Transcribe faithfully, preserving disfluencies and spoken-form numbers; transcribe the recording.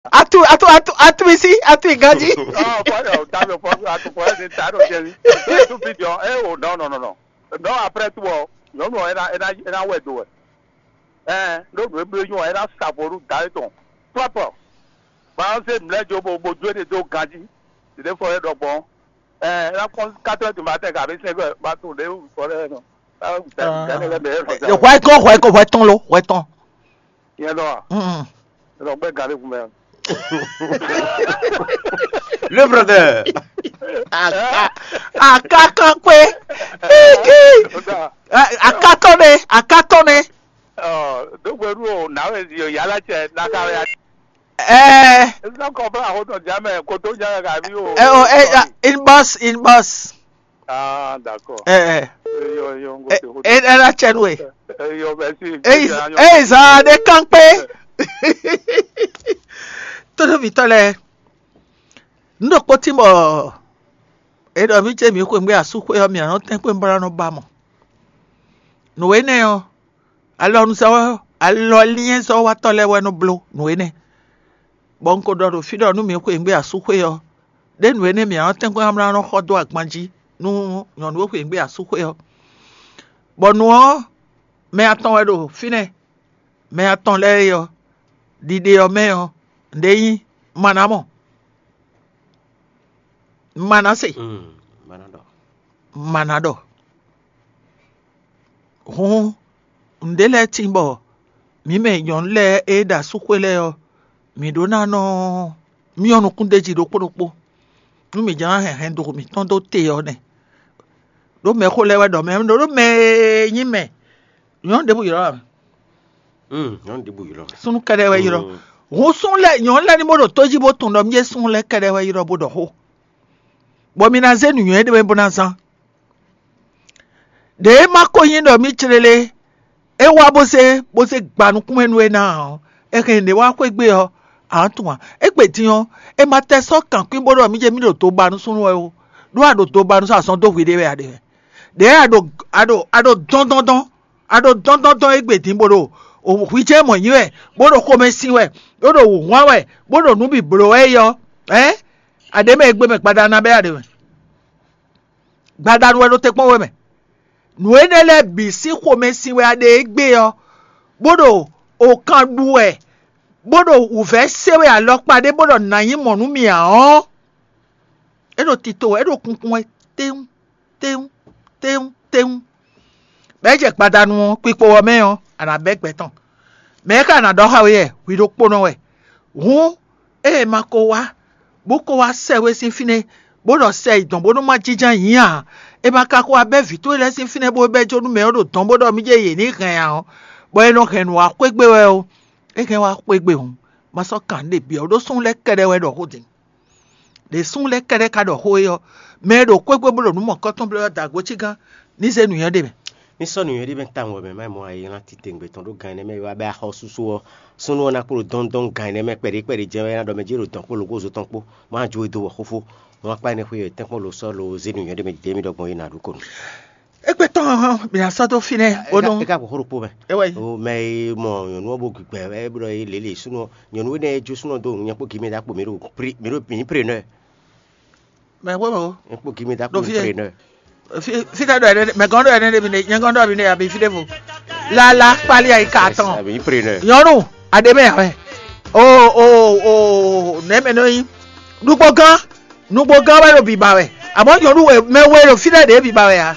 Atu atu atu atu isi atu iganji. Oh, boy, oh, that your problem. I could find it. I don't get it. Don't do video. Eh, oh, no, no, no, no. No, après tout, oh, no, no, and I, and I, and I went to it. Eh, no, no, no, you, and I stop for that. Proper. But I said, let you go, go do it, do ganji. Today for it, oh, bon. Eh, and I come, quatre heures du matin, car it's like, but today, for it, no. Ah, Hwɛ tɔn, hwɛ tɔn, hwɛ tɔn lo, hwɛ tɔn. Yẹn dɔ wa. Yẹn dɔ gbɛ gari kun bɛ. Le brother. Akakan kpe. Akatɔne, akatɔne. Dogberu o nawe zi o yala cɛ naka ya. Ɛɛ. Ezɔ kɔfɛ ahoto jamɛ koto jamɛ kabi o. Ɛ o ɛ inbox inbox. Ah, d'accord. Ɛɛ. Yo yo ngo Ɛ te hoto. Ɛ ɛna cɛ nu e. Yo merci. Eyi eyi zan de kan kpe. Tódóvitɔ lɛ, n ɖo kpótí bɔ e ɖɔ mí jɛ mí xweyǐgbe asúxwé ɔ́, mǐ nɔ tɛ́n kpé bó ná nɔ ba mɔ. Nǔ énɛ́ ɔ́, alɔnuzɔ́ alɔlinyɛzɔ́watɔ́ lɛ́ɛ wɛ nɔ bló nǔ énɛ́. Bɔ un ko ɖɔ ɖo fí ɖɔ nú mǐ xweyǐgbe asúxwé ɔ́, ɖé nǔ énɛ́ mǐ nɔ tɛ́n kpé ná nɔ xɔ dó agban jí nú nyɔ̌nu e xweyǐgbe asúxwé ɔ́. Bɔ nǔ ɔ́, mɛ atɔn wɛ ɖo fínɛ́. Mɛ atɔn lɛ́ɛ é ɔ́, ɖiɖe ɔ́ mɛ ɔ́, nǔɖé nyí Manamɔ, Manase, Mana ɖɔ. Mana ɖɔ. Hǔn nǔɖé lɛ́ɛ tíin bɔ mǐ mɛ nyɔ̌nu lɛ́ɛ e ɖo asúxwé lɛ́ɛ ɔ́, mǐ ɖó ná nɔ myɔ nukún d'é jí ɖokpó ɖokpó, nú mǐ jló ná hɛn hɛn do mǐtɔn dó te ɔ́ nɛ́. Ɖó mɛxó lɛ́ɛ wɛ ɖɔ mɛ ɖó mɛ e nyí mɛ nyɔ̌nu ɖěbǔ ylɔ́ ǎ. Hmm, nyɔnu ɖěbǔ ylɔ́. Súnnu kɛ́ɖɛ́ wɛ ylɔ́. Hǔn súnnu lɛ́ɛ nyɔ̌nu lɛ́ɛ ní bó ɖo tó jí bó tunwun ɖɔ mí é súnnu lɛ́ɛ kɛ́ɖɛ́ wɛ ylɔ́ bó ɖɔ xó, bɔ mi ná zé nǔnywɛ́ ɖé bó ná zán. Ɖě e ma ko nyí ɖɔ mí clélé, é wá bó zé bó zé gba nukún mɛ nú é ná ɔ́, é hɛn ɖě wá xwé gbe ɔ́, ǎ tunwun ǎ. Égbé din ɔ́, é ma tɛ sɔ́ kankwín bó ɖɔ mí jɛ mí ɖo do ba nú súnnu wɛ ó, ɖó a ɖo do ba nú sɔ́ azɔn dó hwiɖée wɛ a ɖe wɛ. Ɖě a ɖo a ɖo a ɖo dɔ́ndɔ́ndɔ́n a ɖo dɔ́ndɔ́ndɔ́n égbé din bó ɖo hwi jɛ mɔ̌ nyi wɛ, bó ɖo xomɛ sin wɛ, bó ɖo wǔhwan wɛ, bó ɖo nǔ bǐ bló wɛ é ɔ́, ɛ̌ a ɖě mɛ e gbé mɛ gbada ná bɛ́ a ɖě mɛ. Gbadanu wɛ ɖo te kpɔ́n we mɛ. Nǔ énɛ́ lɛ́ɛ bǐ sín xomɛ sin wɛ a ɖe égbé ɔ́, bó ɖo okan ɖu wɛ, bó ɖo wǔvɛ́ se wɛ alɔkpa ɖé bó ɖɔ nǎ nyí mɔ̌ nú mì ǎ ɔ́, é ɖo tito wɛ, é ɖo kunkun wɛ téwún téwún téwún téwún. Bɛ̌ jɛ gbadanu ɔ́, kpikpo ɔ́ mɛ ɔ́, a nǎ bɛ́ gbɛ tɔn. Mɛ̌ ka ná ɖɔ xá we wɛ? Hwi ɖokpónɔ wɛ. Hǔn ée ma ko wá, bó ko wá sɛ we sín fínɛ́, bó ɖɔ sɛ yi dɔn bónú má jínjɔ́n ayǐ ǎ, è ma ka ko wá bɛ́ vǐ towe lɛ́ɛ sín fínɛ́ bó bɛ́ jó nú mɛ ɔ́ ɖo dɔn bó ɖɔ mí jɛ yě ní hɛn ǎ ɔ́, bɔ è nɔ hɛn nǔ wá xwé gbe wɛ ó. É hɛn wá xwé gbe hǔn, ma sɔ́ kan nǔ ɖe byɔ́ ɖó súnnu lɛ́ɛ kɛ́ɖɛ́ wɛ ɖɔ xó din. Ɖě súnnu lɛ́ɛ kɛ́ɖɛ́ ka ɖɔ xó é ɔ́, mɛ e ɖo xwé gbe bó ɖo nǔ mɔ̌kɔ́tɔn bló ɔ́ da gǒ cí gán ní zé nǔnywɛ́ ɖe mɛ. Ní sɔ́ nǔnywɛ́ ɖé mɛ tawun wɛ mɛ má mɔ ayǐ ná titewungbe tɔn ɖó gan énɛ́ mɛ wá bɛ axɔ́súsú ɔ́, súnnu ɔ́ ná kpló dɔ́ndɔ́n gan énɛ́ mɛ kpɛɖé kpɛɖé jɛ́n wɛ ná ɖɔ mɛ jí ɖo dɔn kpó lǒgózo tɔn kpó, má jó e dó wɔ xófó, má kpá énɛ́ xwé yɛ tɛ́nkpɔ́n lo sɔ́ lo zé nǔnywɛ́ ɖé mɛ ɖě mì ɖɔgbɔn é ná ɖu kɔnu. Égbé tɔn hɔn, mi ná sɔ́ dó fínɛ́ ó nú. É ka kpɔ xó ɖokpó mɛ. É wɛ yí. O mɛ e mɔ nyɔ̌nu ɔ́ bó gbígbɛ wɛ é blɔ é lě lě súnnu ɔ́, nyɔ̌nu énɛ́ e jó súnnu ɔ́ dó nǔ nyɛ kpó gǐmɛ ɖó akpo mì ɖo pré mì ɖo mǐ pré nɔ ɛ. Mɛ wé mɛ o. Mǐ kpó gǐmɛ ɖó akpo Ɖo mì fí ɛ. pré nɔ ɛ. Fi- Fita ɖɔ ɛnɛ mɛ gɔn ɖɔ ɛnɛ ɖe mi ne nyɛ gɔn ɖɔ mi ne abi fi ɖe vo. Lala kpali ayi ka tɔn. Àbí yín pré nɔ ɛ. Nyɔnu aɖe mɛ yà wɛ. O o o nɛ mɛ nɔ yi. Nugbo gán nugbo gán wɛ ɖo biba wɛ. Àmọ́ nyɔnu wɛ mɛ wɛ ɖo fi ɖe ɖe biba wɛ ya.